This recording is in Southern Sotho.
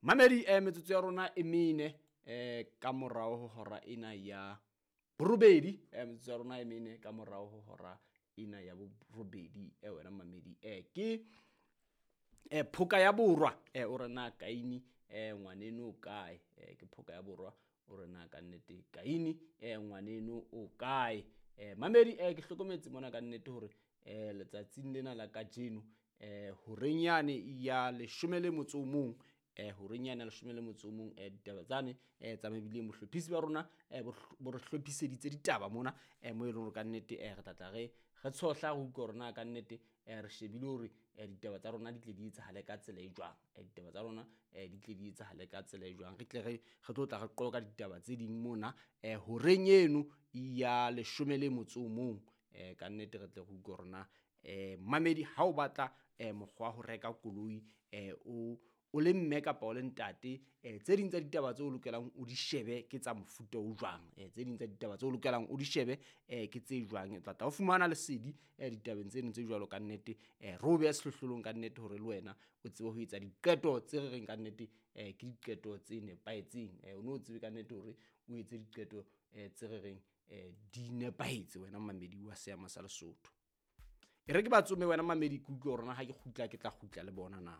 Mamedi, metsotso ya rona e mene ka morao ho hora ena ya borobedi. Metsotso ya rona e mene ka morao ho hora ena ya borobedi. Wena mamedi, ke Phoka ya Borwa, o re na Kaini ngwaneno o kae? Ke Phoka ya Borwa, o re na kannete Kaini ngwaneno o kae? Mamedi, ke hlokometse mona kannete hore letsatsing lena la kajeno, horeng yane ya 11, horeng yane ya 11, ditaba tsane tsa mebileng, bohlophisi ba rona bo re hlophiseditse ditaba mona, mo e leng hore kannete re tla tla re tshohla, re utlwe hore na kannete re shebile hore ditaba tsa rona di tle di etsahale ka tsela e jwang. Ditaba tsa rona di tle di etsahale ka tsela e jwang, re tle re tlo tla re qoqa ditaba tse ding mona horeng eno ya 11. Kannete re tle re utlwe hore na mamedi, ha o batla mokgwa wa ho reka koloi, o le mme kapa o le ntate, tse ding tsa ditaba tseo o lokelang o di shebe ke tsa mofuta o jwang? Tse ding tsa ditaba tseo o lokelang o di shebe ke tse jwang? O tla tla o fumana lesedi ditabeng tseno tse jwalo kannete. Re o behe sehlohlolong kannete hore le wena o tsebe ho etsa diqeto tse re reng kannete ke diqeto tse nepahetseng. O no tsebe kannete hore o etse diqeto tse re reng di nepahetse, wena mamedi wa seama sa Lesotho. E re ke ba tsome wena mamedi, ke utlwe hore na ha ke kgutla ke tla kgutla le bona na.